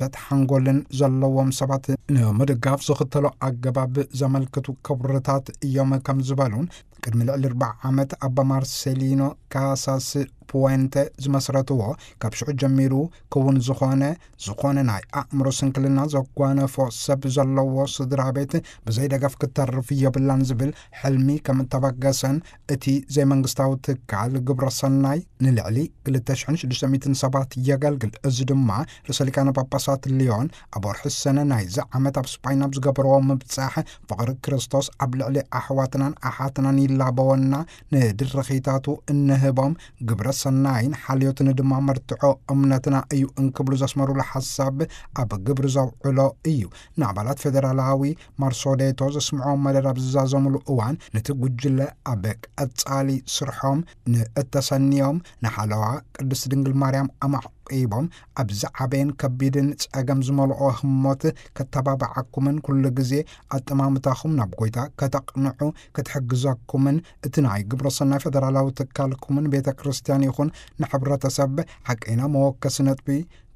ሓንጎልን ዘለዎም ሰባት ንምድጋፍ ዝኽተሎ ኣገባብ ዘመልክቱ ክብርታት እዮም ከም ዝበሉን፣ ቅድሚ ልዕሊ ኣርብዓ ዓመት ኣባ ማርሴሊኖ ካሳስ ፑዌንተ ዝመስረትዎ፣ ካብ ሽዑ ጀሚሩ ክውን ዝኾነ፣ ዝኾነ ናይ ኣእምሮ ስንክልና ዘጓነፎ ሰብ ዘለዎ ስድራ ቤት ብዘይ ደገፍ ክትተርፍ የብላን ዝብል ሕልሚ ከም እተበገሰን፣ እቲ ዘይመንግስታዊ ትካል ግብረ ሰናይ ንልዕሊ ክልተ ሽሕን ሽዱሽተ ሚእትን ሰባት የገልግል። እዚ ድማ ርእሰ ሊቃነ ጳጳሳት ሊዮን ኣብ ወርሒ ሰነ ናይዚ ዓመት ኣብ ስጳይን ኣብ ዝገበርዎ ምብጻሕ፣ ፍቕሪ ክርስቶስ ኣብ ልዕሊ ኣሕዋትናን ኣሓትናን ይላበወና፣ ንድርኺታቱ እንህቦም ግብረ ሰናይን ሓልዮትን ድማ መርትዖ እምነትና እዩ እንክብሉ ዘስመሩሉ ሓሳብ ኣብ ግብሪ ዘውዕሎ እዩ። ንኣባላት ፌደራላዊ ማርሶዴቶ ዘስምዖ መደብ ኣብ ዝዛዘሙሉ እዋን፣ ነቲ ጉጅለ ኣብ ቀጻሊ ስርሖም ንእተሰንዮም ንሓለዋ ቅድስት ድንግል ማርያም ኣማዕቂቦም፣ ኣብ ዝዓበየን ከቢድን ጸገም ዝመልኦ ህሞት ከተባብዓኩምን ኩሉ ግዜ ኣጠማምታኹም ናብ ጎይታ ከተቕንዑ ክትሕግዘኩምን፣ እቲ ናይ ግብረ ሰናይ ፌደራላዊ ትካልኩምን ቤተ ክርስቲያን ይኹን ንሕብረተሰብ ሓቀይና መወከሲ ነጥቢ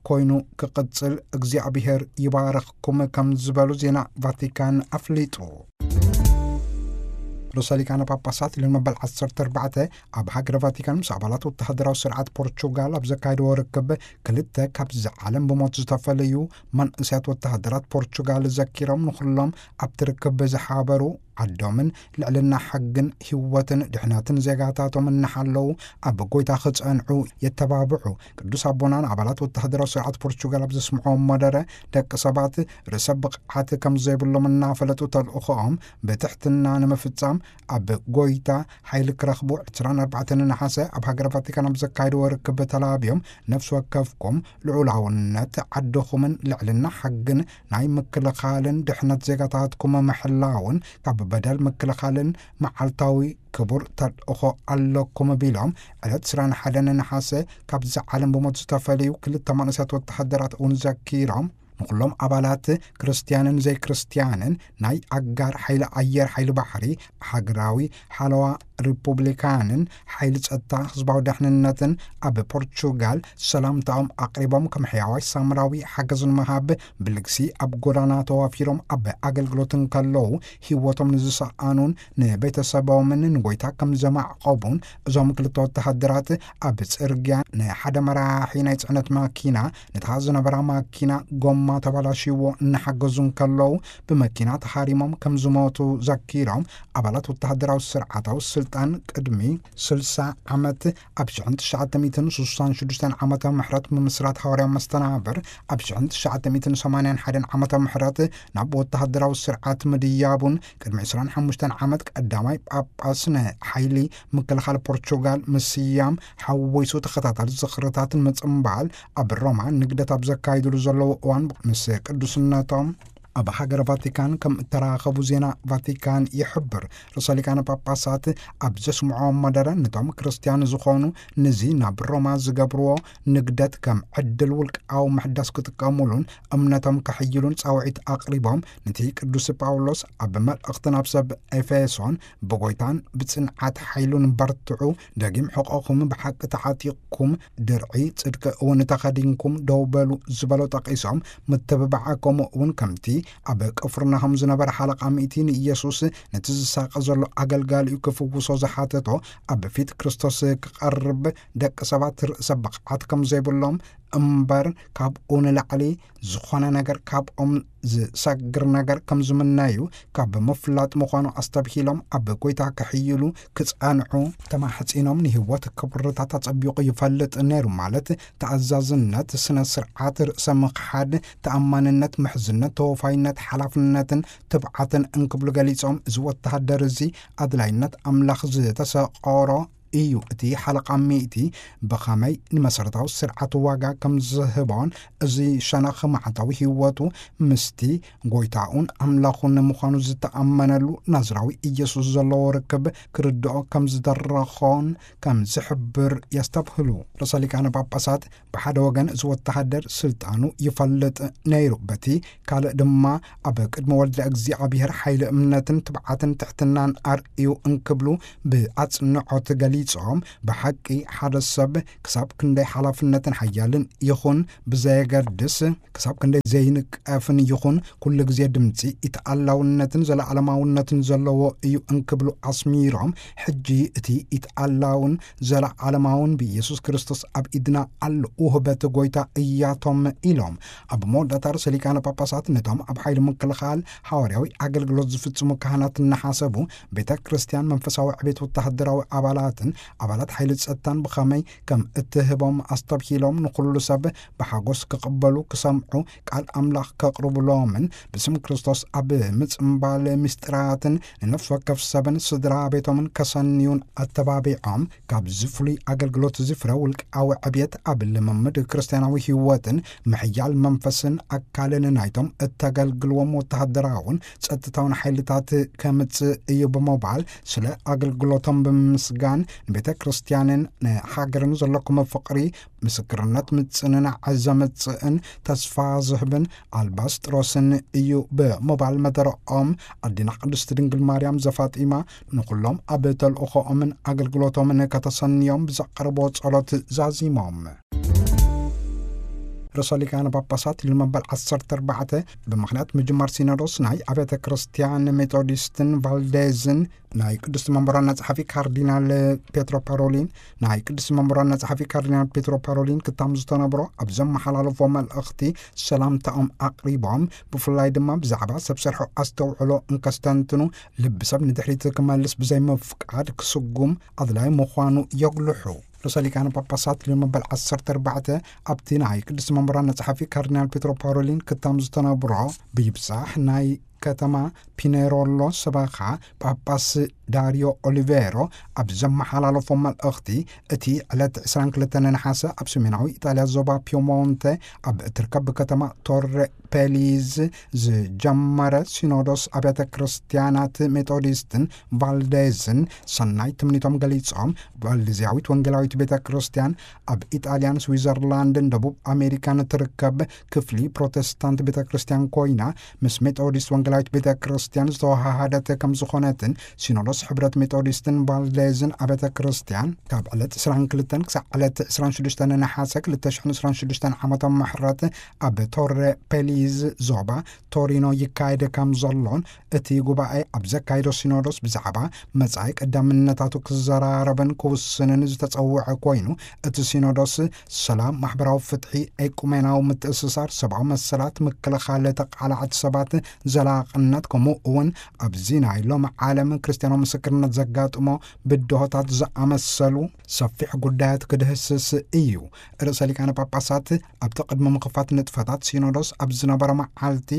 ኮይኑ ክቕጽል እግዚኣብሔር ይባርኽኩም ከም ዝበሉ ዜና ቫቲካን ኣፍሊጡ። ርእሰ ሊቃነ ጳጳሳት ሊዮን መበል ዓሰርተ ኣርባዕተ ኣብ ሃገረ ቫቲካን ምስ ኣባላት ወተሃደራዊ ስርዓት ፖርቹጋል ኣብ ዘካየድዎ ርክብ፣ ክልተ ካብዚ ዓለም ብሞት ዝተፈለዩ መንእሰያት ወተሃደራት ፖርቹጋል ዘኪሮም፣ ንኹሎም ኣብቲ ርክብ ዝሓበሩ ዓዶምን ልዕልና ሕግን ህይወትን ድሕነትን ዜጋታቶም እናሓለዉ ኣብ ጎይታ ክጸንዑ የተባብዑ። ቅዱስ ኣቦና ንኣባላት ወተሃደራዊ ስርዓት ፖርቹጋል ኣብ ዘስምዕዎ መደረ፣ ደቂ ሰባት ርእሰ ብቕዓት ከም ዘይብሎም እናፈለጡ ተልእኾኦም ብትሕትና ንምፍጻም ኣብ ጎይታ ሓይሊ ክረኽቡ ዕስራን ኣርባዕተን ነሓሰ ኣብ ሃገረ ቫቲካን ኣብ ዘካየድዎ ርክብ ተላብዮም፣ ነፍሲ ወከፍኩም ልዑላውነት ዓድኹምን ልዕልና ሕግን ናይ ምክልኻልን ድሕነት ዜጋታትኩም ምሕላውን ካብ በደል ምክልኻልን መዓልታዊ ክቡር ተልእኾ ኣለኩም ቢሎም፣ ዕለት ዕስራን ሓደን ነሓሰ ካብዚ ዓለም ብሞት ዝተፈለዩ ክልተ መንእሰያት ወተሃደራት እውን ዘኪሮም፣ ንኹሎም ኣባላት ክርስትያንን ዘይክርስትያንን ናይ ኣጋር ሓይሊ ኣየር፣ ሓይሊ ባሕሪ፣ ሃገራዊ ሓለዋ ሪፑብሊካንን ሓይሊ ጸጥታ ህዝባዊ ደሕንነትን ኣብ ፖርቹጋል ሰላምታኦም ኣቕሪቦም፣ ከም ሕያዋይ ሳምራዊ ሓገዝ ንምሃብ ብልግሲ ኣብ ጎዳና ተዋፊሮም ኣብ ኣገልግሎት እንከለዉ ህይወቶም ንዝሰኣኑን ንቤተሰቦምን ንጎይታ ከም ዘማዕቆቡን እዞም ክልተ ወተሃደራት ኣብ ጽርግያ ንሓደ መራሒ ናይ ጽዕነት ማኪና፣ ነታ ዝነበራ ማኪና ጎማ ተባላሽዎ እናሓገዙ እንከለዉ ብመኪና ተሃሪሞም ከም ዝሞቱ ዘኪሮም፣ ኣባላት ወተሃደራዊ ስርዓታዊ ስልጣን ቅድሚ ስልሳ ዓመት ኣብ ሽሕን ትሽዓተ ሚእትን ስሳን ሽዱሽተን ዓመተ ምሕረት ምምስራት ሃዋርያዊ መስተናብር፣ ኣብ ሽሕን ትሽዓተ ሚእትን ሰማንያን ሓደን ዓመተ ምሕረት ናብ ወተሃደራዊ ስርዓት ምድያቡን፣ ቅድሚ ዕስራን ሓሙሽተን ዓመት ቀዳማይ ጳጳስ ንሓይሊ ምክልኻል ፖርቹጋል ምስያም ሓዊሱ ተኸታታሊ ዝኽርታትን ምጽምባል ኣብ ሮማ ንግደት ኣብ ዘካይድሉ ዘለዉ እዋን ምስ ቅዱስነቶም ኣብ ሃገረ ቫቲካን ከም እተራኸቡ ዜና ቫቲካን ይሕብር። ርእሰ ሊቃነ ጳጳሳት ኣብ ዘስምዖ መደረ፣ ነቶም ክርስትያን ዝኾኑ ንዚ ናብ ሮማ ዝገብርዎ ንግደት ከም ዕድል ውልቃዊ ምሕዳስ ክጥቀሙሉን እምነቶም ከሕይሉን ጻውዒት ኣቕሪቦም፣ ነቲ ቅዱስ ጳውሎስ ኣብ መልእኽቲ ናብ ሰብ ኤፌሶን ብጎይታን ብጽንዓት ሓይሉን በርትዑ፣ ደጊም ሕቖኹም ብሓቂ ተዓጢቕኩም፣ ድርዒ ጽድቂ እውን ተኸዲንኩም ደው በሉ ዝበሎ ጠቒሶም፣ ምትብባዕ ከምኡ እውን ከምቲ ኣብ ቅፍርናሆም ዝነበረ ሓለቓ ሚእቲ ንኢየሱስ ነቲ ዝሳቐ ዘሎ ኣገልጋሊኡ ክፍውሶ ዝሓተቶ፣ ኣብ ፊት ክርስቶስ ክቐርብ ደቂ ሰባት ርእሰ ብቕዓት ከም ዘይብሎም እምበር፣ ካብኡ ንላዕሊ ዝኾነ ነገር ካብኦም ዝሰግር ነገር ከም ዝምነዩ ካብ ምፍላጥ ምዃኑ ኣስተብሂሎም፣ ኣብ ጎይታ ክሕይሉ ክጸንዑ ተማሕጺኖም፣ ንህይወት ክብርታት ኣጸቢቑ ይፈልጥ ነይሩ፣ ማለት ተኣዛዝነት፣ ስነ ስርዓት፣ ርእሰ ምኽሓድ፣ ተኣማንነት፣ ምሕዝነት፣ ተወፋይነት፣ ሓላፍነትን ትብዓትን እንክብሉ ገሊጾም፣ እዚ ወተሃደር እዚ ኣድላይነት ኣምላኽ ዝተሰቆሮ እዩ። እቲ ሓለቓ ሚእቲ ብኸመይ ንመሰረታዊ ስርዓት ዋጋ ከም ዝህቦን፣ እዚ ሸነኽ መዓልታዊ ህይወቱ ምስቲ ጎይታኡን ኣምላኹን ንምዃኑ ዝተኣመነሉ ናዝራዊ ኢየሱስ ዘለዎ ርክብ ክርድኦ ከም ዝደረኾን ከም ዝሕብር የስተብህሉ። ርእሰ ሊቃነ ጳጳሳት ብሓደ ወገን እዚ ወተሃደር ስልጣኑ ይፈልጥ ነይሩ፣ በቲ ካልእ ድማ ኣብ ቅድሚ ወልደ እግዚኣብሔር ሓይሊ እምነትን ትብዓትን ትሕትናን ኣርእዩ እንክብሉ ብኣጽንዖት ገሊጾም። ጾም ብሓቂ ሓደ ሰብ ክሳብ ክንደይ ሓላፍነትን ሓያልን ይኹን ብዘየገድስ፣ ክሳብ ክንደይ ዘይንቀፍን ይኹን ኩሉ ግዜ ድምፂ ኢተኣላውነትን ዘለዓለማውነትን ዘለዎ እዩ እንክብሉ ኣስሚሮም፣ ሕጂ እቲ ኢተኣላውን ዘለዓለማውን ብኢየሱስ ክርስቶስ ኣብ ኢድና ኣሎ ውህበት ጎይታ እያቶም ኢሎም። ኣብ መወዳእታ ርእሰ ሊቃነ ጳጳሳት ነቶም ኣብ ሓይሊ ምክልኻል ሃዋርያዊ ኣገልግሎት ዝፍጽሙ ካህናት እናሓሰቡ፣ ቤተ ክርስቲያን መንፈሳዊ ዕቤት ወተሃደራዊ ኣባላትን ኣባላት ሓይሊ ጸጥታን ብኸመይ ከም እትህቦም ኣስተብሂሎም፣ ንኹሉ ሰብ ብሓጎስ ክቕበሉ፣ ክሰምዑ፣ ቃል ኣምላኽ ከቕርብሎምን ብስም ክርስቶስ ኣብ ምጽምባል ምስጢራትን ንነፍሲ ወከፍ ሰብን ስድራ ቤቶምን ከሰንዩን ኣተባቢዖም፣ ካብዚ ፍሉይ ኣገልግሎት እዚ ፍረ ውልቃዊ ዕብየት ኣብ ልምምድ ክርስትያናዊ ህይወትን ምሕያል መንፈስን ኣካልን ናይቶም እተገልግልዎም ወተሃደራውን ጸጥታውን ሓይልታት ከምጽእ እዩ ብምባል፣ ስለ ኣገልግሎቶም ብምምስጋን፣ ንቤተ ክርስቲያንን ንሃገርን ዘለኩም ፍቕሪ ምስክርነት ምጽንናዕ ዘምጽእን ተስፋ ዝህብን ኣልባስጥሮስን እዩ ብምባል መደረኦም፣ ኣዴና ቅድስቲ ድንግል ማርያም ዘፋጢማ ንኹሎም ኣብ ተልእኾኦምን ኣገልግሎቶምን ከተሰንዮም ብዘቕርቦ ጸሎት ዛዚሞም። ርእሰ ሊቃነ ጳጳሳት ሊዮ መበል ዓሰርተ ኣርባዕተ ብምኽንያት ምጅማር ሲኖዶስ ናይ ኣብያተ ክርስቲያን ሜቶዲስትን ቫልዴዝን ናይ ቅድስቲ መንበሮና ጸሓፊ ካርዲናል ፔትሮ ፓሮሊን፣ ናይ ቅድስቲ መንበሮና ጸሓፊ ካርዲናል ፔትሮ ፓሮሊን ክታም ዝተነብሮ ኣብ ዘመሓላለፎ መልእኽቲ ሰላምታኦም ኣቕሪቦም፣ ብፍላይ ድማ ብዛዕባ ሰብ ሰርሖ ኣስተውዕሎ እንከስተንትኑ፣ ልቢ ሰብ ንድሕሪት ክመልስ ብዘይምፍቃድ ክስጉም ኣድላይ ምዃኑ የጉልሑ። ርእሰ ሊቃነ ጳጳሳት ሊዮ መበል ዓሰርተ ኣርባዕተ ኣብቲ ናይ ቅድስቲ መንበሮና ጸሓፊ ካርዲናል ፔትሮ ፓሮሊን ክታም ዝተነብሮ ብይብጻሕ ናይ ከተማ ፒኔሮሎ ሰበኻ ጳጳስ ዳሪዮ ኦሊቬሮ ኣብ ዘመሓላለፎ መልእኽቲ፣ እቲ ዕለት ዕስራን ክልተን ነሓሰ ኣብ ሰሜናዊ ኢጣልያ ዞባ ፒየሞንተ ኣብ እትርከብ ከተማ ቶሬ ፔሊዝ ዝጀመረ ሲኖዶስ ኣብያተ ክርስቲያናት ሜቶዲስትን ቫልዴዝን ሰናይ ትምኒቶም ገሊጾም፣ ቫልዴዝያዊት ወንጌላዊት ቤተ ክርስቲያን ኣብ ኢጣልያን ስዊዘርላንድን ደቡብ ኣሜሪካን እትርከብ ክፍሊ ፕሮቴስታንት ቤተ ክርስቲያን ኮይና፣ ምስ ሜቶዲስት ወንጌላዊት ቤተ ክርስቲያን ዝተወሃሃደት ከም ዝኾነትን፣ ሲኖዶስ ሕብረት ሜቶዲስትን ቫልዴዝን ኣብያተ ክርስቲያን ካብ ዕለት ዕስራን ክልተን ክሳዕ ዕለት ዕስራን ሽዱሽተን ነሓሰ ክልተ ሽሕን ዕስራን ሽዱሽተን ዓመተ ምሕረት ኣብ ቶሬ ፔሊዝ ዞባ ቶሪኖ ይካየድ ከም ዘሎን፣ እቲ ጉባኤ ኣብ ዘካየዶ ሲኖዶስ ብዛዕባ መጻኢ ቀዳምነታቱ ክዘራረብን ክውስንን ዝተጸውዐ ኮይኑ፣ እቲ ሲኖዶስ ሰላም፣ ማሕበራዊ ፍትሒ፣ ኤቁሜናዊ ምትእስሳር፣ ሰብኣዊ መሰላት፣ ምክልኻል ተቃላዕቲ ሰባት፣ ዘላቕነት፣ ከምኡ እውን ኣብዚ ናይ ሎሚ ዓለም ክርስትያናዊ ምስክርነት ዘጋጥሞ ብድሆታት ዝኣመሰሉ ሰፊሕ ጉዳያት ክድህስስ እዩ። ርእሰ ሊቃነ ጳጳሳት ኣብቲ ቅድሚ ምኽፋት ንጥፈታት ሲኖዶስ ኣብ ዝነበረ መዓልቲ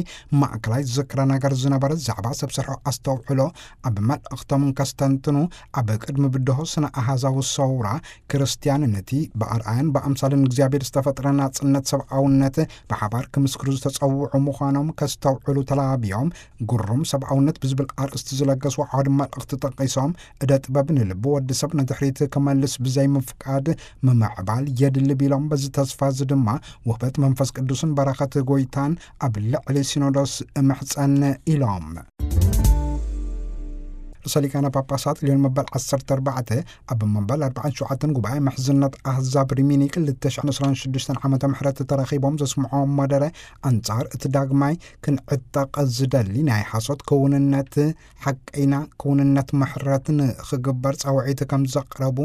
ማእከላይ ዝክረ ነገር ዝነበረ ዛዕባ ሰብ ሰርሖ ኣስተውዕሎ ኣብ መልእኽቶም እንከስተንትኑ፣ ኣብ ቅድሚ ብድሆ ስነ ኣሃዛዊ ሰውራ ክርስትያን ነቲ ብኣርኣያን ብኣምሳልን እግዚኣብሔር ዝተፈጥረ ናጽነት ሰብኣውነት ብሓባር ክምስክሩ ዝተጸውዑ ምዃኖም ከስተውዕሉ ተላብዮም፣ ግሩም ሰብኣውነት ብዝብል ኣርእስቲ ዝለገስዎ ዓውዲ መልእኽቲ ጠቒሶም፣ እደ ጥበብ ንልቢ ወዲ ሰብ ንድሕሪት ክመልስ ብዘይምፍቃድ ምምዕባል የድሊ ቢሎም፣ በዚ ተስፋ እዚ ድማ ውህበት መንፈስ ቅዱስን በረኸት ጎይታን ኣብ ልዕሊ ሲኖዶስ እምሕጸን ኢሎም። ርእሰ ሊቃነ ጳጳሳት ሊዮን መበል ዓሰርተ ኣርባዕተ ኣብ መበል ኣርባዓን ሸውዓተን ጉባኤ ምሕዝነት ኣህዛብ ሪሚኒ ክልተ ሽሕን ዕስራን ሽዱሽተን ዓመተ ምሕረት ተረኺቦም ዘስምዖም መደረ ኣንጻር እቲ ዳግማይ ክንዕጠቕ ዝደሊ ናይ ሓሶት ክውንነት ሓቀይና ክውንነት ምሕረት ንኽግበር ጻውዒት ከም ዘቕረቡ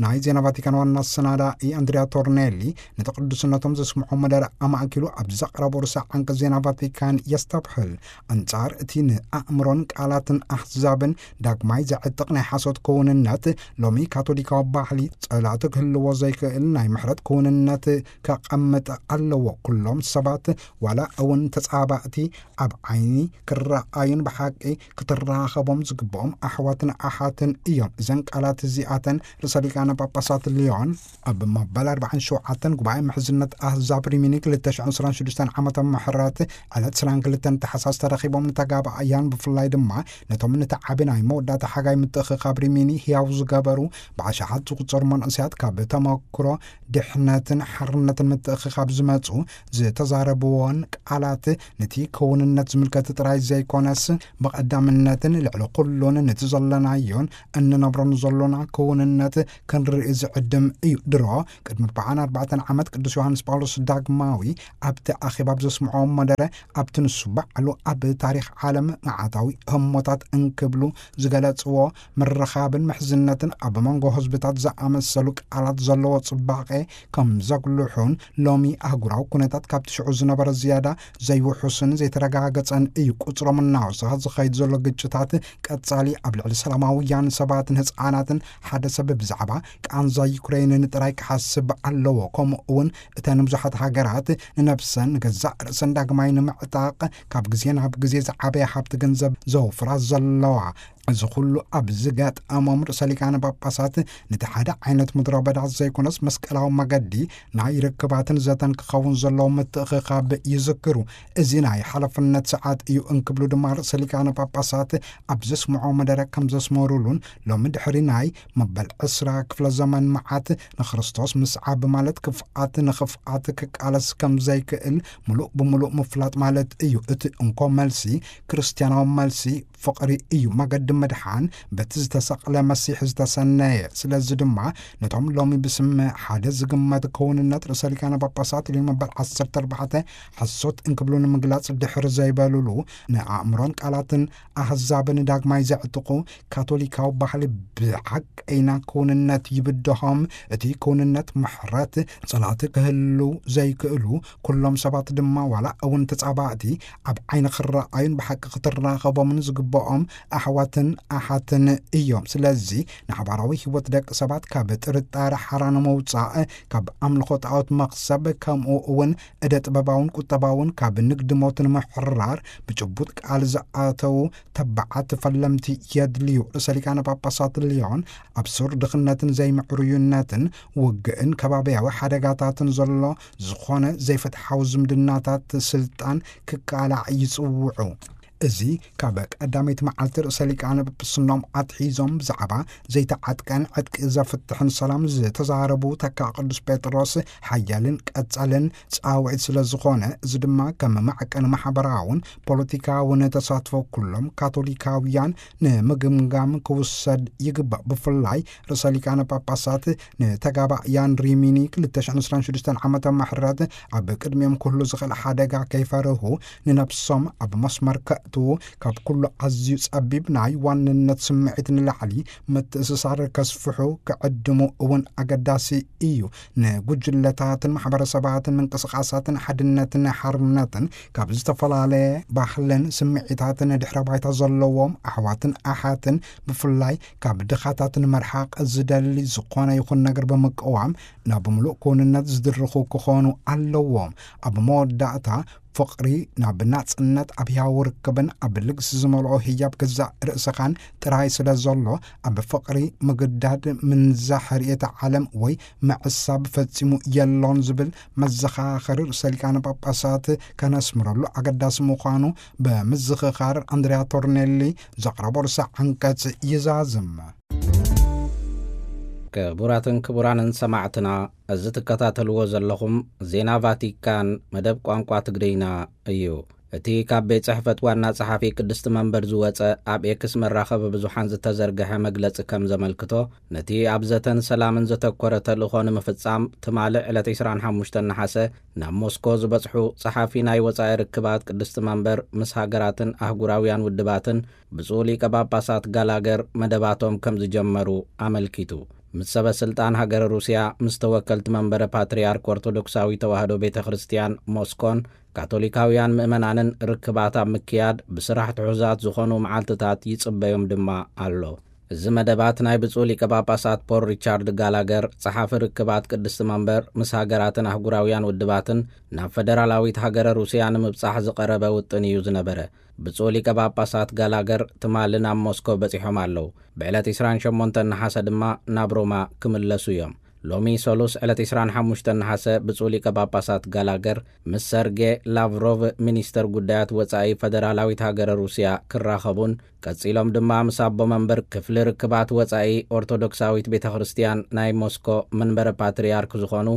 ናይ ዜና ቫቲካን ዋና ኣሰናዳኢ ኣንድሪያ ቶርኔሊ ነቲ ቅዱስነቶም ዘስምዖ መደረ ኣማእኪሉ ኣብ ዘቕረቦ ርእሰ ዓንቀጽ ዜና ቫቲካን የስተብህል። ኣንጻር እቲ ንኣእምሮን ቃላትን ኣህዛብን ዳግማይ ዘዕጥቕ ናይ ሓሶት ክውንነት፣ ሎሚ ካቶሊካዊ ባህሊ ጸላእቲ ክህልዎ ዘይክእል ናይ ምሕረት ክውንነት ከቐምጥ ኣለዎ። ኩሎም ሰባት ዋላ እውን ተጻባእቲ ኣብ ዓይኒ ክረኣዩን ብሓቂ ክትራኸቦም ዝግብኦም ኣሕዋትን ኣሓትን እዮም። እዘን ቃላት እዚኣተን ርእሰ ሊቃነ ጳጳሳት ሊዮን ኣብ መበል ኣርባዓን ሸውዓተን ጉባኤ ምሕዝነት ኣህዛብ ሪሚኒ ክልተ ሽሕን ዕስራን ሽዱሽተን ዓመተ ምሕረት ዕለት ዕስራን ክልተን ታሕሳስ ተረኺቦም ንተጋባእያን ብፍላይ ድማ ነቶም ነቲ ዓቢ ናይ መወዳእታ ሓጋይ ምትእኽኻብ ሪሚኒ ህያው ዝገበሩ ብኣሽሓት ዝቑጸሩ መንእሰያት፣ ካብ ተመክሮ ድሕነትን ሓርነትን ምትእኽኻብ ዝመጹ፣ ዝተዛረብዎን ቃላት ነቲ ክውንነት ዝምልከት ጥራይ ዘይኮነስ፣ ብቐዳምነትን ልዕሊ ኩሉን ነቲ ዘለናዮን እንነብሮን ዘሎና ክውንነት ክንርኢ ዝዕድም እዩ። ድሮ ቅድሚ ኣርባዓን ኣርባዕተን ዓመት ቅዱስ ዮሃንስ ጳውሎስ ዳግማዊ ኣብቲ ኣኼባ ኣብ ዘስምዖ መደረ፣ ኣብቲ ንሱ ባዕሉ ኣብ ታሪኽ ዓለም መዓታዊ ህሞታት እንክብሉ ዝገለጽዎ ምርኻብን ምሕዝነትን ኣብ መንጎ ህዝብታት ዝኣመሰሉ ቃላት ዘለዎ ጽባቐ ከም ዘጉልሑን፣ ሎሚ ኣህጉራዊ ኩነታት ካብቲ ሽዑ ዝነበረ ዝያዳ ዘይውሑስን ዘይተረጋገጸን እዩ። ቁጽሮም እናወሰኸ ዝኸይድ ዘሎ ግጭታት ቀጻሊ ኣብ ልዕሊ ሰላማውያን ሰባትን ህጻናትን፣ ሓደ ሰብ ብዛዕባ ቃንዛ ዩክሬንን ጥራይ ክሓስብ ኣለዎ። ከምኡ እውን እተን ብዙሓት ሃገራት ንነብሰን ንገዛእ ርእሰን ዳግማይ ንምዕጣቕ ካብ ግዜ ናብ ግዜ ዝዓበየ ሃብቲ ገንዘብ ዘውፍራ ዘለዋ፣ እዚ ኩሉ ኣብ ዝገጠሞም ርእሰ ሊቃነ ጳጳሳት፣ ነቲ ሓደ ዓይነት ምድረ በዳ ዘይኮነስ መስቀላዊ መገዲ ናይ ርክባትን ዘተን ክኸውን ዘለዎ ምትእኽኻብ ይዝክሩ። እዚ ናይ ሓላፍነት ሰዓት እዩ እንክብሉ ድማ ርእሰ ሊቃነ ጳጳሳት ኣብ ዘስምዖ መደረ ከም ዘስመሩሉን፣ ሎሚ ድሕሪ ናይ መበል ዕስራ ክፍለ ዘመን መዓት ንክርስቶስ ምስዓብ ማለት ክፍኣት ንኽፍኣት ክቃለስ ከም ዘይክእል ምሉእ ብምሉእ ምፍላጥ ማለት እዩ። እቲ እንኮ መልሲ፣ ክርስትያናዊ መልሲ፣ ፍቕሪ እዩ። መገዲ ምድሓን በቲ ዝተሰቕለ መሲሕ ዝተሰነየ። ስለዚ ድማ ነቶም ሎሚ ብስም ሓደ ዝግመት ክውንነት ርእሰ ሊቃነ ጳጳሳት ሊዮ መበል ዓሰርተ ኣርባዕተ ሓሶት እንክብሉ ንምግላጽ ድሕር ዘይበሉሉ፣ ንኣእምሮን ቃላትን ኣህዛብ ንዳግማይ ዘዕጥቑ ካቶሊካዊ ባህሊ ብሓቀይና ክውንነት ይብድሆም። እቲ ክውንነት ምሕረት፣ ጸላእቲ ክህሉ ዘይክእሉ ኩሎም ሰባት ድማ፣ ዋላ እውን ተጻባእቲ፣ ኣብ ዓይኒ ክረኣዩን ብሓቂ ክትራኸቦምን ዝግብኦም ኣሕዋትን ኣሓትን እዮም። ስለዚ ንሓባራዊ ህይወት ደቂ ሰባት ካብ ጥርጣረ ሓራ ንምውጻእ፣ ካብ ኣምልኾ ጣዖት መኽሰብ፣ ከምኡ እውን እደ ጥበባውን ቁጠባውን ካብ ንግዲ ሞት ንምሕራር ብጭቡጥ ቃል ዝኣተዉ ተባዓት ፈለምቲ የድልዩ። ርእሰ ሊቃነ ጳጳሳት ሊዮን ኣብ ሱር ድኽነትን ዘይምዕሩይነትን ውግእን ከባብያዊ ሓደጋታትን ዘሎ ዝኾነ ዘይፍትሓዊ ዝምድናታት ስልጣን ክቃላዕ ይጽውዑ። እዚ ካብ ቀዳመይቲ መዓልቲ ርእሰ ሊቃነ ጵጵስናኦም ኣትሒዞም ብዛዕባ ዘይተዓጥቀን ዕጥቂ ዘፍትሕን ሰላም ዝተዛረቡ ተካ ቅዱስ ጴጥሮስ፣ ሓያልን ቀጻልን ጻውዒት ስለ ዝኾነ፣ እዚ ድማ ከም ማዕቀን ማሕበራውን ፖለቲካውን ተሳትፎ ኩሎም ካቶሊካውያን ንምግምጋም ክውሰድ ይግባእ። ብፍላይ ርእሰ ሊቃነ ጳጳሳት ንተጋባእያን ሪሚኒ ክልተ ሽሕን ዕስራን ሽዱሽተን ዓመተ ምሕረት ኣብ ቅድሚኦም ክህሉ ዝኽእል ሓደጋ ከይፈርሁ፣ ንነብሶም ኣብ መስመር ከእትዉ፣ ካብ ኩሉ ኣዝዩ ጸቢብ ናይ ዋንነት ስምዒት ንላዕሊ ምትእስሳር ከስፍሑ ክዕድሙ እውን ኣገዳሲ እዩ። ንጉጅለታትን ማሕበረሰባትን ምንቅስቃሳትን ሓድነትን ሓርነትን ካብ ዝተፈላለየ ባህልን ስምዒታትን ድሕረ ባይታ ዘለዎም ኣሕዋትን ኣሓትን፣ ብፍላይ ካብ ድኻታት ንምርሓቕ ዝደሊ ዝኾነ ይኹን ነገር ብምቅዋም፣ ናብ ምሉእ ክውንነት ዝድርኹ ክኾኑ ኣለዎም። ኣብ መወዳእታ፣ ፍቕሪ ናብ ናጽነት፣ ኣብ ህያው ርክብን ኣብ ልግሲ ዝመልኦ ህያብ ገዛእ ርእስኻን ጥራይ ስለ ዘሎ፣ ኣብ ፍቕሪ ምግዳድ፣ ምንዛሕ ርእየተ ዓለም ወይ ምዕሳብ ፈጺሙ የሎን ዝብል መዘኻኸሪ ርእሰ ሊቃነ ጳጳሳት ከነስምረሉ ኣገዳሲ ምዃኑ ብምዝኽኻር፣ ኣንድሪያ ቶርኔሊ ዘቕረቦ ርእሰ ዓንቀጽ ይዛዝም። ክቡራትን ክቡራንን ሰማዕትና፣ እዚ ትከታተልዎ ዘለኹም ዜና ቫቲካን መደብ ቋንቋ ትግርኛ እዩ። እቲ ካብ ቤት ጽሕፈት ዋና ጸሓፊ ቅድስቲ መንበር ዝወጸ ኣብ ኤክስ መራኸቢ ብዙሓን ዝተዘርግሐ መግለጺ ከም ዘመልክቶ፣ ነቲ ኣብ ዘተን ሰላምን ዘተኮረ ተልእኾ ንምፍጻም ትማሊ ዕለት ዕስራን ሓሙሽተን ነሓሰ ናብ ሞስኮ ዝበጽሑ ጸሓፊ ናይ ወጻኢ ርክባት ቅድስቲ መንበር ምስ ሃገራትን ኣህጉራውያን ውድባትን ብፁዕ ሊቀ ጳጳሳት ጋላገር መደባቶም ከም ዝጀመሩ ኣመልኪቱ። ምስ ሰበ ስልጣን ሃገረ ሩስያ፣ ምስ ተወከልቲ መንበረ ፓትርያርክ ኦርቶዶክሳዊ ተዋህዶ ቤተ ክርስቲያን ሞስኮን ካቶሊካውያን ምእመናንን ርክባት ኣብ ምክያድ ብስራሕ ትሑዛት ዝኾኑ መዓልትታት ይጽበዮም ድማ ኣሎ። እዚ መደባት ናይ ብፁዕ ሊቀ ጳጳሳት ፖል ሪቻርድ ጋላገር፣ ጸሓፊ ርክባት ቅድስቲ መንበር ምስ ሃገራትን ኣህጉራውያን ውድባትን ናብ ፈደራላዊት ሃገረ ሩስያ ንምብጻሕ ዝቐረበ ውጥን እዩ ዝነበረ። ብፁዕ ሊቀ ጳጳሳት ጋላገር ትማሊ ናብ ሞስኮ በጺሖም ኣለዉ። ብዕለት ዕስራን ሸሞንተን ነሓሰ ድማ ናብ ሮማ ክምለሱ እዮም። ሎሚ ሰሉስ ዕለት ዕስራን ሓሙሽተን ነሓሰ ብፁዕ ሊቀ ጳጳሳት ጋላገር ምስ ሰርጌ ላቭሮቭ ሚኒስተር ጉዳያት ወጻኢ ፈደራላዊት ሃገረ ሩስያ ክራኸቡን ቀጺሎም ድማ ምስ ኣቦ መንበር ክፍሊ ርክባት ወጻኢ ኦርቶዶክሳዊት ቤተ ክርስቲያን ናይ ሞስኮ መንበረ ፓትርያርክ ዝኾኑ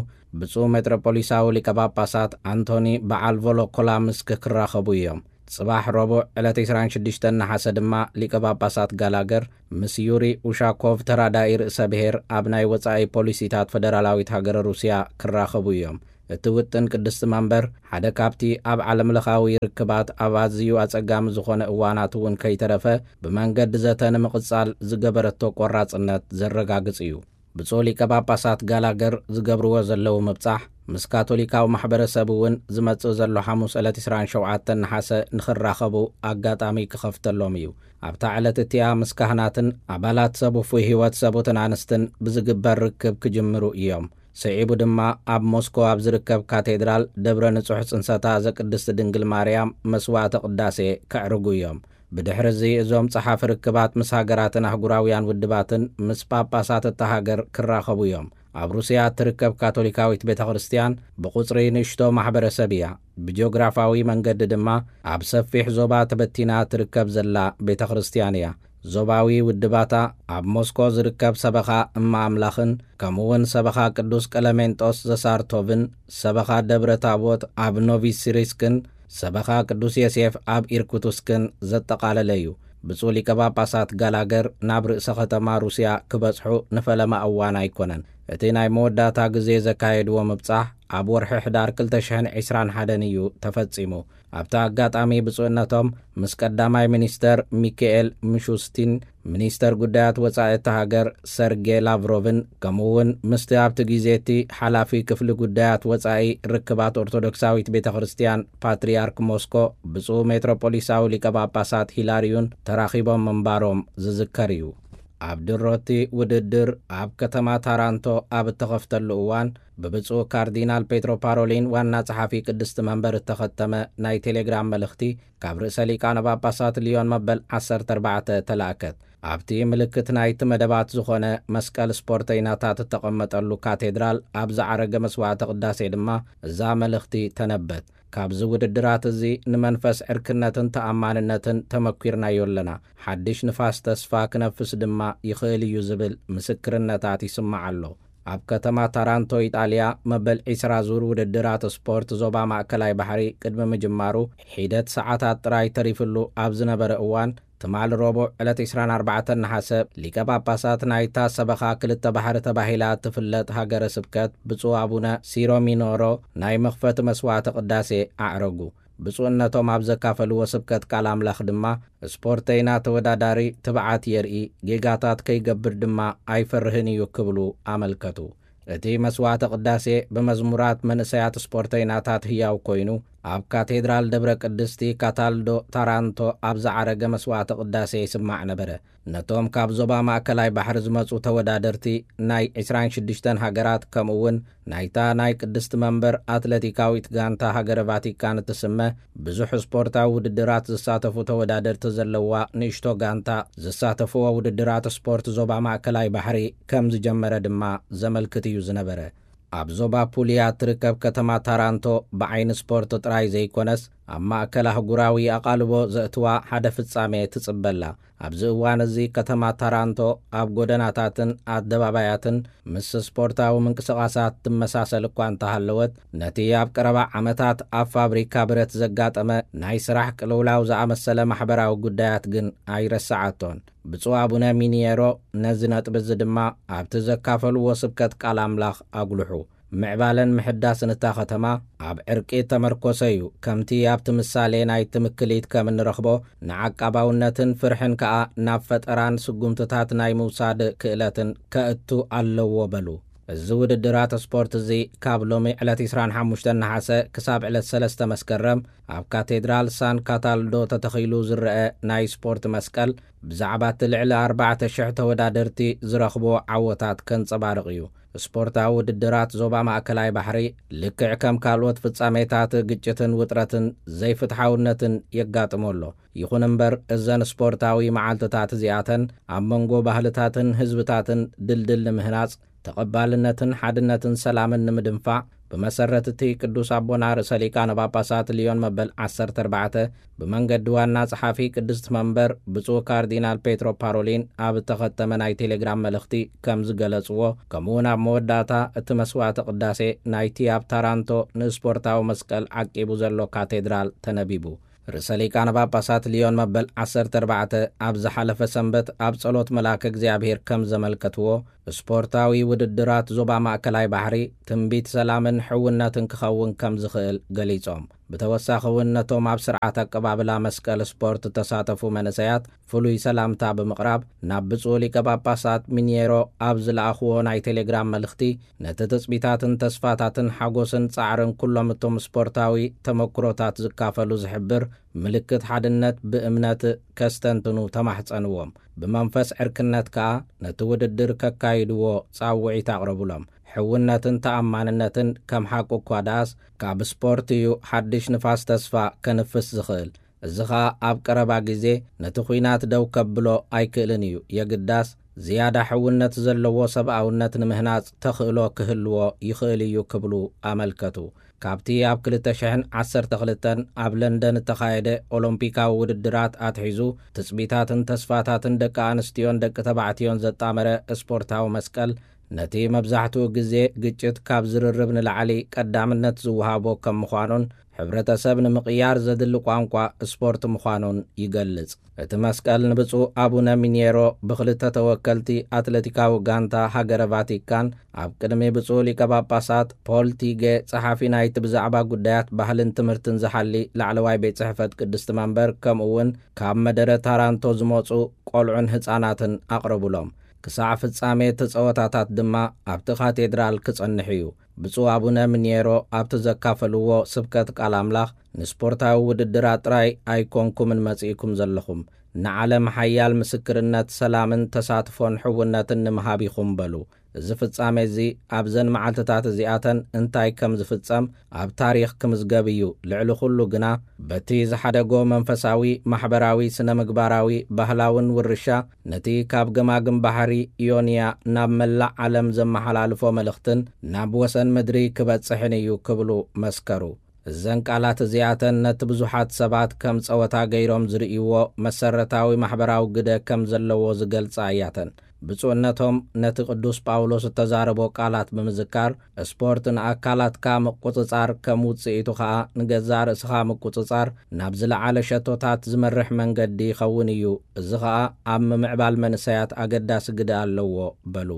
ብፁዕ ሜጥሮፖሊሳዊ ሊቀ ጳጳሳት ኣንቶኒ በዓል ቮሎኮላምስክ ክራኸቡ እዮም። ጽባሕ ረቡዕ ዕለት ዕስራን ሽዱሽተን ነሓሰ ድማ ሊቀ ጳጳሳት ጋላገር ምስ ዩሪ ኡሻኮቭ ተራዳኢ ርእሰ ብሔር ኣብ ናይ ወጻኢ ፖሊሲታት ፈደራላዊት ሃገረ ሩስያ ክራኸቡ እዮም። እቲ ውጥን ቅድስቲ መንበር ሓደ ካብቲ ኣብ ዓለምለኻዊ ርክባት ኣብ ኣዝዩ ኣጸጋሚ ዝኾነ እዋናት እውን ከይተረፈ ብመንገዲ ዘተ ንምቕጻል ዝገበረቶ ቆራጽነት ዘረጋግጽ እዩ። ብፁዕ ሊቀ ጳጳሳት ጋላገር ዝገብርዎ ዘለዉ ምብጻሕ ምስ ካቶሊካዊ ማሕበረሰብ እውን ዝመጽእ ዘሎ ሓሙስ ዕለት ዕስራን ሸውዓተን ነሓሰ ንኽራኸቡ ኣጋጣሚ ክኸፍተሎም እዩ። ኣብታ ዕለት እቲኣ ምስ ካህናትን ኣባላት ሰብ ውፉይ ህይወት ሰቡትን ኣንስትን ብዝግበር ርክብ ክጅምሩ እዮም። ስዒቡ ድማ ኣብ ሞስኮ ኣብ ዝርከብ ካቴድራል ደብረ ንጹሕ ጽንሰታ ዘቅድስቲ ድንግል ማርያም መስዋዕተ ቅዳሴ ከዕርጉ እዮም። ብድሕሪ እዚ እዞም ጸሓፊ ርክባት ምስ ሃገራትን ኣህጉራውያን ውድባትን ምስ ጳጳሳት እታ ሃገር ክራኸቡ እዮም። ኣብ ሩስያ እትርከብ ካቶሊካዊት ቤተ ክርስቲያን ብቁጽሪ ንእሽቶ ማሕበረሰብ እያ። ብጂኦግራፋዊ መንገዲ ድማ ኣብ ሰፊሕ ዞባ ተበቲና ትርከብ ዘላ ቤተ ክርስቲያን እያ። ዞባዊ ውድባታ ኣብ ሞስኮ ዝርከብ ሰበኻ እማ ኣምላኽን ከምኡውን ሰበኻ ቅዱስ ቀለሜንጦስ ዘሳርቶቭን ሰበኻ ደብረ ታቦት ኣብ ኖቪሲሪስክን ሰበኻ ቅዱስ ዮሴፍ ኣብ ኢርኩትስክን ዘጠቓለለ እዩ። ብፁዕ ሊቀ ጳጳሳት ጋላገር ናብ ርእሰ ከተማ ሩስያ ክበጽሑ ንፈለማ እዋን ኣይኮነን። እቲ ናይ መወዳእታ ግዜ ዘካየድዎ ምብጻሕ ኣብ ወርሒ ሕዳር ክልተ ሽሕን ዕስራን ሓደን እዩ ተፈጺሙ። ኣብቲ ኣጋጣሚ ብፁዕነቶም ምስ ቀዳማይ ሚኒስተር ሚካኤል ምሹስቲን ሚኒስተር ጉዳያት ወጻኢ እታ ሃገር ሰርጌ ላቭሮቭን ከምኡ እውን ምስቲ ኣብቲ ግዜ እቲ ሓላፊ ክፍሊ ጉዳያት ወጻኢ ርክባት ኦርቶዶክሳዊት ቤተ ክርስቲያን ፓትርያርክ ሞስኮ ብፁዕ ሜትሮፖሊሳዊ ሊቀ ጳጳሳት ሂላርዩን ተራኺቦም ምንባሮም ዝዝከር እዩ። ኣብ ድሮቲ ውድድር ኣብ ከተማ ታራንቶ ኣብ እተኸፍተሉ እዋን ብብፁዕ ካርዲናል ፔትሮ ፓሮሊን ዋና ጸሓፊ ቅድስቲ መንበር እተኸተመ ናይ ቴሌግራም መልእኽቲ ካብ ርእሰ ሊቃነ ጳጳሳት ሊዮን መበል ዓሰርተ ኣርባዕተ ተላእከት። ኣብቲ ምልክት ናይቲ መደባት ዝኾነ መስቀል ስፖርተይናታት እተቐመጠሉ ካቴድራል ኣብ ዝዓረገ መስዋዕተ ቅዳሴ ድማ እዛ መልእኽቲ ተነበት። ካብዚ ውድድራት እዚ ንመንፈስ ዕርክነትን ተኣማንነትን ተመኲርናዮ ኣለና። ሓድሽ ንፋስ ተስፋ ክነፍስ ድማ ይኽእል እዩ ዝብል ምስክርነታት ይስማዕ ኣሎ። ኣብ ከተማ ታራንቶ ኢጣልያ መበል ዕስራ ዙር ውድድራት ስፖርት ዞባ ማእከላይ ባሕሪ ቅድሚ ምጅማሩ ሒደት ሰዓታት ጥራይ ተሪፍሉ ኣብ ዝነበረ እዋን ትማል ረቡዕ ዕለት ዕስራን ኣርባዕተን ነሓሰ ሊቀ ጳጳሳት ናይታ ሰበኻ ክልተ ባሕሪ ተባሂላ እትፍለጥ ሃገረ ስብከት ብፁዕ ኣቡነ ሲሮ ሚኖሮ ናይ መኽፈቲ መስዋዕተ ቅዳሴ ኣዕረጉ። ብፁዕነቶም ኣብ ዘካፈልዎ ስብከት ቃል ኣምላኽ ድማ ስፖርተይና ተወዳዳሪ ትብዓት የርኢ፣ ጌጋታት ከይገብር ድማ ኣይፈርህን እዩ ክብሉ ኣመልከቱ። እቲ መስዋዕተ ቅዳሴ ብመዝሙራት መንእሰያት ስፖርተይናታት ህያው ኮይኑ ኣብ ካቴድራል ደብረ ቅድስቲ ካታልዶ ታራንቶ ኣብ ዝዓረገ መስዋዕተ ቅዳሴ ይስማዕ ነበረ። ነቶም ካብ ዞባ ማእከላይ ባሕሪ ዝመጹ ተወዳደርቲ ናይ ዕስራን ሽዱሽተን ሃገራት ከምኡ እውን ናይታ ናይ ቅድስቲ መንበር ኣትለቲካዊት ጋንታ ሃገረ ቫቲካን እትስመ ብዙሕ ስፖርታዊ ውድድራት ዝሳተፉ ተወዳደርቲ ዘለዋ ንእሽቶ ጋንታ ዝሳተፍዎ ውድድራት ስፖርት ዞባ ማእከላይ ባሕሪ ከም ዝጀመረ ድማ ዘመልክት እዩ ዝነበረ። ኣብ ዞባ ፑልያ እትርከብ ከተማ ታራንቶ ብዓይኒ ስፖርት ጥራይ ዘይኮነስ ኣብ ማእከል ኣህጉራዊ ኣቓልቦ ዘእትዋ ሓደ ፍጻሜ ትጽበላ። ኣብዚ እዋን እዚ ከተማ ታራንቶ ኣብ ጎደናታትን ኣደባባያትን ምስ ስፖርታዊ ምንቅስቓሳት ትመሳሰል እኳ እንተሃለወት፣ ነቲ ኣብ ቀረባ ዓመታት ኣብ ፋብሪካ ብረት ዘጋጠመ ናይ ስራሕ ቅልውላው ዝኣመሰለ ማሕበራዊ ጉዳያት ግን ኣይረስዓቶን። ብፁዕ ኣቡነ ሚኒየሮ ነዚ ነጥቢ እዚ ድማ ኣብቲ ዘካፈልዎ ስብከት ቃል ኣምላኽ ኣጉልሑ። ምዕባለን ምሕዳስን እታ ከተማ ኣብ ዕርቂ እተመርኮሰ እዩ። ከምቲ ኣብቲ ምሳሌ ናይ ትምክሊት ከም እንረኽቦ፣ ንዓቃባውነትን ፍርሕን ከኣ ናብ ፈጠራን ስጉምትታት ናይ ምውሳድ ክእለትን ከእቱ ኣለዎ በሉ። እዚ ውድድራት ስፖርት እዚ ካብ ሎሚ ዕለት ዕስራን ሓሙሽተን ነሓሰ ክሳብ ዕለት ሰለስተ መስከረም ኣብ ካቴድራል ሳን ካታልዶ ተተኺሉ ዝረአ ናይ ስፖርት መስቀል ብዛዕባ እቲ ልዕሊ ኣርባዕተ ሽሕ ተወዳደርቲ ዝረኽቦ ዓወታት ከንጸባርቕ እዩ። ስፖርታዊ ውድድራት ዞባ ማእከላይ ባሕሪ ልክዕ ከም ካልኦት ፍጻሜታት ግጭትን ውጥረትን ዘይፍትሓውነትን የጋጥሞ ኣሎ። ይኹን እምበር እዘን ስፖርታዊ መዓልትታት እዚኣተን ኣብ መንጎ ባህልታትን ህዝብታትን ድልድል ንምህናጽ ተቐባልነትን ሓድነትን ሰላምን ንምድንፋዕ፣ ብመሰረት እቲ ቅዱስ ኣቦና ርእሰ ሊቃነ ጳጳሳት ልዮን መበል ዓሰርተ ኣርባዕተ፣ ብመንገዲ ዋና ጸሓፊ ቅድስት መንበር ብፁዕ ካርዲናል ፔትሮ ፓሮሊን ኣብ እተኸተመ ናይ ቴሌግራም መልእኽቲ ከም ዝገለጽዎ፣ ከምኡውን ኣብ መወዳእታ እቲ መስዋዕተ ቅዳሴ ናይቲ ኣብ ታራንቶ ንስፖርታዊ መስቀል ዓቂቡ ዘሎ ካቴድራል ተነቢቡ። ርእሰ ሊቃነ ጳጳሳት ልዮን መበል ዓሰርተ ኣርባዕተ ኣብ ዝሓለፈ ሰንበት ኣብ ጸሎት መልኣከ እግዚኣብሔር ከም ዘመልከትዎ፣ ስፖርታዊ ውድድራት ዞባ ማእከላይ ባሕሪ ትንቢት ሰላምን ሕውነትን ክኸውን ከም ዝኽእል ገሊጾም። ብተወሳኺ እውን ነቶም ኣብ ስርዓት ኣቀባብላ መስቀል ስፖርት እተሳተፉ መንእሰያት ፍሉይ ሰላምታ ብምቕራብ፣ ናብ ብፁዕ ሊቀ ጳጳሳት ሚኒየሮ ኣብ ዝለኣኽዎ ናይ ቴሌግራም መልእኽቲ፣ ነቲ ትጽቢታትን ተስፋታትን ሓጎስን ጻዕርን ኩሎም እቶም ስፖርታዊ ተመክሮታት ዝካፈሉ ዝሕብር ምልክት ሓድነት ብእምነት ከስተንትኑ ተማሕጸንዎም። ብመንፈስ ዕርክነት ከኣ ነቲ ውድድር ከካይድዎ ጻውዒት ኣቕረቡሎም። ሕውነትን ተኣማንነትን ከም ሓቂ እኳ ደኣስ፣ ካብ ስፖርት እዩ ሓድሽ ንፋስ ተስፋ ከንፍስ ዝኽእል። እዚ ኸኣ ኣብ ቀረባ ግዜ ነቲ ኲናት ደው ከብሎ ኣይክእልን እዩ። የግዳስ፣ ዝያዳ ሕውነት ዘለዎ ሰብኣውነት ንምህናጽ ተኽእሎ ክህልዎ ይኽእል እዩ ክብሉ ኣመልከቱ። ካብቲ ኣብ ክልተ ሽሕን ዓሰርተ ክልተን ኣብ ለንደን እተኻየደ ኦሎምፒካዊ ውድድራት ኣትሒዙ፣ ትጽቢታትን ተስፋታትን ደቂ ኣንስትዮን ደቂ ተባዕትዮን ዘጣመረ ስፖርታዊ መስቀል፣ ነቲ መብዛሕትኡ ግዜ ግጭት ካብ ዝርርብ ንላዕሊ ቀዳምነት ዝወሃቦ ከም ምዃኑን፣ ሕብረተሰብ ንምቕያር ዘድሊ ቋንቋ ስፖርት ምዃኑን ይገልጽ። እቲ መስቀል ንብፁዕ ኣቡነ ሚኔሮ ብኽልተ ተወከልቲ ኣትለቲካዊ ጋንታ ሃገረ ቫቲካን ኣብ ቅድሚ ብፁዕ ሊቀ ጳጳሳት ፖል ቲገ፣ ጸሓፊ ናይቲ ብዛዕባ ጉዳያት ባህልን ትምህርትን ዝሓሊ ላዕለዋይ ቤት ጽሕፈት ቅድስቲ መንበር፣ ከምኡ እውን ካብ መደረ ታራንቶ ዝመጹ ቆልዑን ህጻናትን ኣቕረቡሎም። ክሳዕ ፍጻሜ እቲ ጸወታታት ድማ ኣብቲ ካቴድራል ክጸንሕ እዩ። ብፁዕ ኣቡነ ሚኔሮ ኣብቲ ዘካፈልዎ ስብከት ቃል ኣምላኽ፣ ንስፖርታዊ ውድድራት ጥራይ ኣይኮንኩምን መጺእኩም ዘለኹም፣ ንዓለም ሓያል ምስክርነት ሰላምን ተሳትፎን ሕውነትን ንምሃብ ኢኹም በሉ። እዚ ፍጻሜ እዚ ኣብዘን መዓልትታት እዚኣተን እንታይ ከም ዝፍጸም ኣብ ታሪኽ ክምዝገብ እዩ። ልዕሊ ኩሉ ግና በቲ ዝሓደጎ መንፈሳዊ፣ ማሕበራዊ፣ ስነ ምግባራዊ፣ ባህላውን ውርሻ ነቲ ካብ ገማግም ባሕሪ ኢዮንያ ናብ መላእ ዓለም ዘመሓላልፎ መልእኽትን ናብ ወሰን ምድሪ ክበጽሕን እዩ ክብሉ መስከሩ። እዘን ቃላት እዚኣተን ነቲ ብዙሓት ሰባት ከም ጸወታ ገይሮም ዝርእይዎ መሰረታዊ ማሕበራዊ ግደ ከም ዘለዎ ዝገልጻ እያተን። ብፁዕነቶም ነቲ ቅዱስ ጳውሎስ እተዛረቦ ቃላት ብምዝካር፣ ስፖርት ንኣካላትካ ምቁጽጻር ከም ውጽኢቱ ኸኣ ንገዛእ ርእስኻ ምቁጽጻር ናብ ዝለዓለ ሸቶታት ዝመርሕ መንገዲ ይኸውን እዩ፣ እዚ ኸኣ ኣብ ምምዕባል መንእሰያት ኣገዳሲ ግደ ኣለዎ በሉ።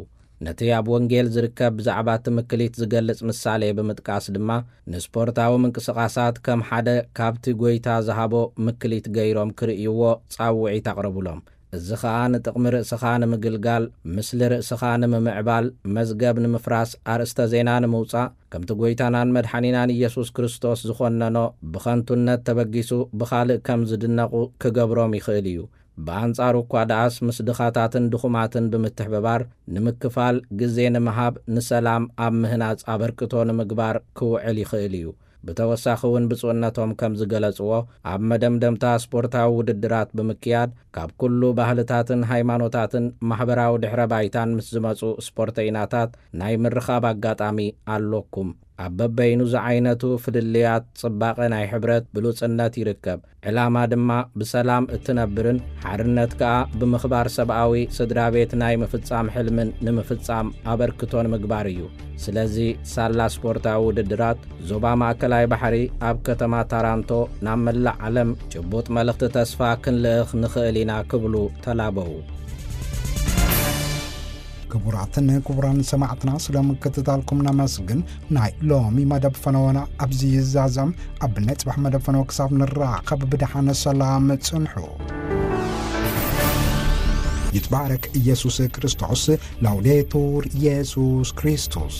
ነቲ ኣብ ወንጌል ዝርከብ ብዛዕባ ትምክሊት ዝገልጽ ምሳሌ ብምጥቃስ ድማ፣ ንስፖርታዊ ምንቅስቓሳት ከም ሓደ ካብቲ ጐይታ ዝሃቦ ምክሊት ገይሮም ክርእይዎ ጻውዒት ኣቕረቡሎም። እዚ ኸኣ ንጥቕሚ ርእስኻ ንምግልጋል፣ ምስሊ ርእስኻ ንምምዕባል፣ መዝገብ ንምፍራስ፣ ኣርእስተ ዜና ንምውጻእ፣ ከምቲ ጐይታናን መድሓኒናን ኢየሱስ ክርስቶስ ዝኾነኖ ብኸንቱነት ተበጊሱ ብኻልእ ከም ዝድነቑ ክገብሮም ይኽእል እዩ። ብኣንጻሩ እኳ ደኣስ፣ ምስ ድኻታትን ድኹማትን ብምትሕብባር ንምክፋል፣ ግዜ ንምሃብ፣ ንሰላም ኣብ ምህናጽ ኣበርክቶ ንምግባር ክውዕል ይኽእል እዩ። ብተወሳኺ እውን ብፁዕነቶም ከም ዝገለጽዎ፣ ኣብ መደምደምታ ስፖርታዊ ውድድራት ብምክያድ፣ ካብ ኩሉ ባህልታትን ሃይማኖታትን ማሕበራዊ ድሕረ ባይታን ምስ ዝመጹ ስፖርተይናታት ናይ ምርኻብ ኣጋጣሚ ኣሎኩም። ኣብ በበይኑ ዝዓይነቱ ፍልልያት ጽባቐ ናይ ሕብረት ብሉጽነት ይርከብ። ዕላማ ድማ ብሰላም እትነብርን ሓርነት ከኣ ብምኽባር ሰብኣዊ ስድራ ቤት ናይ ምፍጻም ሕልምን ንምፍጻም ኣበርክቶ ንምግባር እዩ። ስለዚ ሳላ ስፖርታዊ ውድድራት ዞባ ማእከላይ ባሕሪ ኣብ ከተማ ታራንቶ ናብ መላእ ዓለም ጭቡጥ መልእኽቲ ተስፋ ክንልእኽ ንኽእል ኢና ክብሉ ተላበዉ። ክቡራትን ክቡራን ሰማዕትና፣ ስለ ምክትታልኩም ነመስግን። ናይ ሎሚ መደብ ፈነወና ኣብዚ ይዛዘም። ኣብ ናይ ጽባሕ መደብ ፈነወ ክሳብ ንራኸብ ብደሓን ሰላም ጽንሑ። ይትባረክ ኢየሱስ ክርስቶስ። ላውዴቱር ኢየሱስ ክርስቶስ።